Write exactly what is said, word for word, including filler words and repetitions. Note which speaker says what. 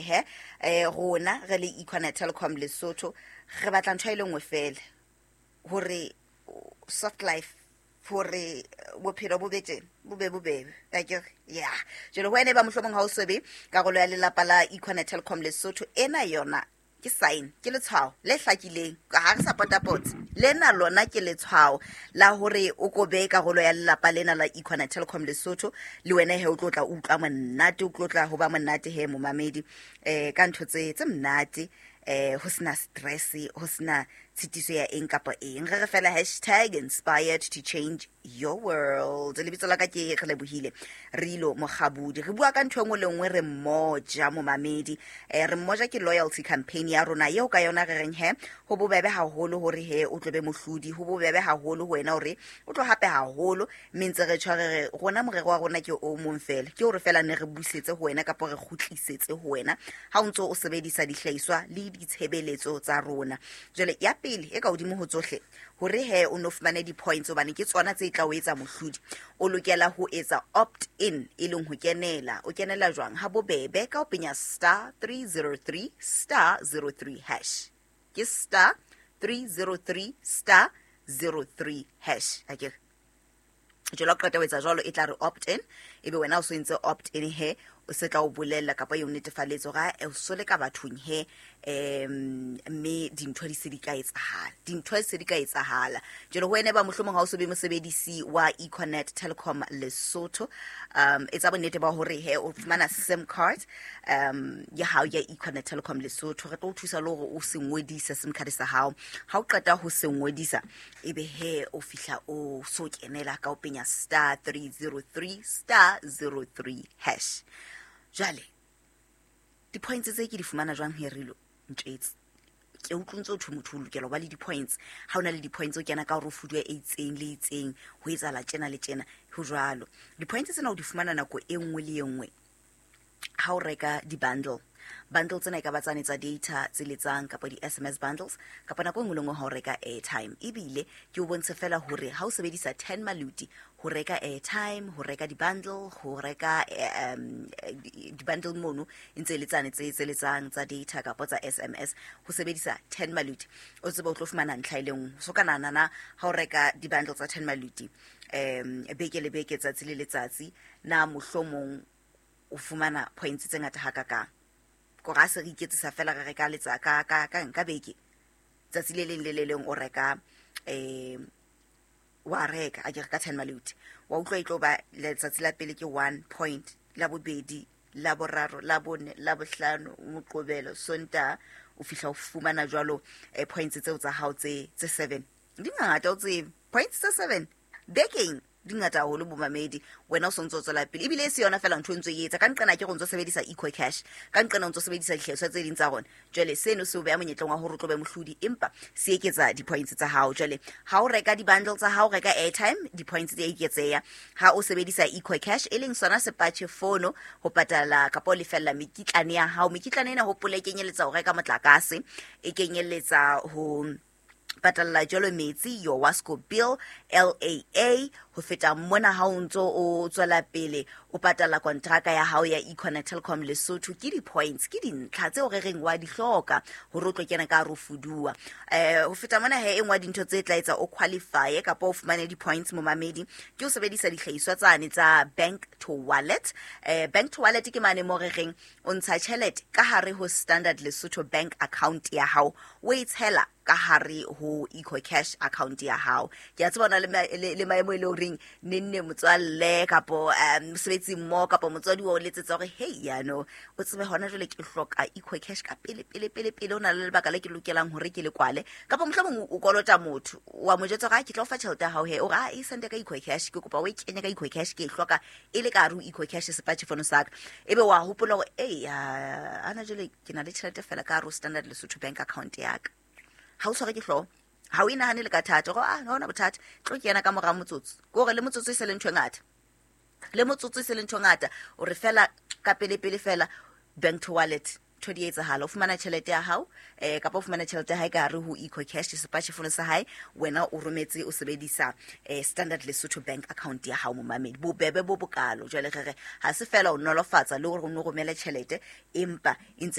Speaker 1: he um rona re le Econet Telecom Lesotho re batla ntho e le nngwe fela, hore soft life, hore bophelo bo be tjena, bo be bobebe akere. Ya, jwale ho wena e ba mohlomong ha o sobe karolo ya lelapa la Econet Telecom Lesotho, ena yona ke sign, ke letshwao le hlakileng ka ha re sa potapotse lena, lona ke letshwao la hore o ko be karolo ya lelapa lena la Econet Telecom Lesotho. Le wena he o tlo tla utlwa monate, o tlo tla ho ba monate he momamedi, um ka ntho tse tse monate, um ho sena stress, ho sena tshitiso ya eng kapa eng. Re re fela hashtag inspired to change your world. Lebitso la ka ke Re Lebohile Rilo Mokgabudi. Re bua ka ntho e nngwe le nngwe, re mmoja momamedi. um re mmoja ke loyalty campaign ya rona eo ka yona re reng he ho bobebe haholo hore he o tlo be mohlodi, ho bobebe haholo ho wena hore o tlo hape haholo. Mme ntse re tshware re rona, morero wa rona ke o mong fela, ke hore fela ne re busetse ho wena kapa re kgutlisetse ho wena ha o ntso o sebedisa dihlahiswa le ditshebeletso tsa rona. Jwale ya pele e ka hodimo ho tsohle, hore he o no fumane di-points, hobane ke tsona tse tla o etsa mohlodi, o lokela ho etsa opt in, e leng ho kenela. O kenela jwang? Ha bobebe, ka ho penya star three zero three star zero three hash. Ke star three zero three star zero three hash akere. Jwale ha o qeta ho etsa jwalo, e tla re opt in. Ebe wena o so entse opt in, he o se tla o bolella kapa e o netefaletse hore o so le ka bathong he, um mme dintho di se di ka etsahala, dintho di se di ka etsahala. Jwale ho wena ba mohlomong ha o so be mosebedisi wa Econet Telecom Lesotho, um etsa bonnete ba hore he o fumana SIM card um ya hao ya Econet Telecom Lesotho. Re tlo o thusa le hore o se ngodise SIM card sa hao. Ha o qeta ho se ngodisa, ebe he o fihla o so kenela ka o penya star three zero three star zero three hash. Jwale di-points tse ke di fumana jwang he Rilo? Ntjetse ke utlwe ntse o thwe motho o lokela ho ba le di-points, ha o na le di-points o kena ka hore o fuduwa e itseng le itseng, ho etsahala tjena le tjena. Ho jwalo, di-points tsena o di fumana nako e nngwe le e nngwe ha o reka di-bundle. Bundle tsena e ka ba tsane tsa data tse letsang kapa di-S M S bundles, kapa nako e nngwe le nngwe ha o reka airtime. Ebile ke o bontshe fela hore ha o sebedisa ten maluti ho reka airtime, ho reka di-bundle, ho reka um, di-bundle mono e ntse e le tsane tse tse letsang tsa data kapa tsa S M S, ho sebedisa ten maluti o tsebe o tlo fumana ntlha e le nngwe. So ka nahana na ha o reka di-bundle tsa ten maluti um beke le beke, tsatsi le letsatsi, na mohlomong o fumana points tse ngata hakakang? Kore ha se re iketsisa fela, re reka letsa ka ka ka ka beke, tsatsi le leng le le leng o reka, um wa reka a ke re ka ten maluti, wa utlwa e tlo ba letsatsi la pele ke one point, la bobedi, la boraro, la bone, la bohlano, Moqobelo, Sontaha, o fihla o fumana jwalo eh, points tseo tsa hao tse tse seven. Di ngata, o tsebe, points tse seven bekeng di ngata haholo bomamedi. Wena o sontso o tswela pele, ebile e se yona fela ntho e ntso e etsa ka nqena ke go ntso sebedisa Eco Cash, ka nqena o ntso sebedisa dihlahiswa tse ding tsa rona. Jwale seno se o beha monyetleng wa hore o tlo be mohlodi, empa se eketsa di-points tsa hao. Jwale ha o reka di-bundle tsa hao, reka airtime, di-points di a eketseha. Ha o sebedisa Eco Cash, e leng sona sepatjhe fono ho patala kapa ho lefella mekitlane ya hao. Mekitlane ena, hopola, e kenyeletsa ho reka motlakase, e kenyeletsa ho patalla jwalo metsi, your WASCO bill, L A A. Ho feta mona, ha o ntso o tswela pele o patala kontraka ya hao ya Econet Telecom Lesotho, ke di-points, ke dintlha tseo re reng wa di hloka hore o tlo kena ka hare ho fuduwa. um ho feta mona he, e nngwe ya dintho tse tla etsa o qualifye kapa o fumane di-points momamedi ke ho sebedisa dihlahiswa tsane tsa bank to wallet. um bank to wallet ke mane mo re reng o ntsha tjhelete ka hare ho Standard Lesotho Bank account ya hao, o e tshela ka hare ho Eco Cash account ya hao. Ke a tseba o na le ma- le le maemo e le horeng nenne motswalle kapo um mosebetsi mmoho kapa motswadi wa o letsetsa hore hei, yano o tsebe hona jwale ke hloka Eco Cash ka pele pele pele pele, o na le lebaka le ke lokelang hore ke le kwale, kapa mohlomong o kolota motho, wa mo jwetsa hore, "Ah, ke tla o fa tjhelete ya hao he." O re, "Ah, e sende ka Eco Cash, ke kopa o e kenye ka Eco Cash, ke e hloka e le ka hare ho Eco Cash sepatjhe sa ka." Ebe wa hopola hore ei, ana jwale ke na le tjhelete fela ka hare ho Standard Lesotho Bank account ya ka. Ha o tshware ke hlooho, ha o inahane le ka thata gore ah, ha hona bothata, tlo kena ka mora motsotso. Ke hore le motsotso e se le ntho e ngata, le motsotso e se le ntho e ngata. O re fela ka pele pele fela bank to wallet, ntho di etsahala, o fumana tjhelete ya hao, eh kapa o fumana tjhelete ya hae ka hare ho Eco Cash sepatjhe sa hae, wena o rometse o sebedisa eh, Standard Lesotho Bank account ya hao momamedi. Bobebe bo bokalo. Jwale re re ha se fela o nolofatsa le hore o no romele tjhelete, empa e ntse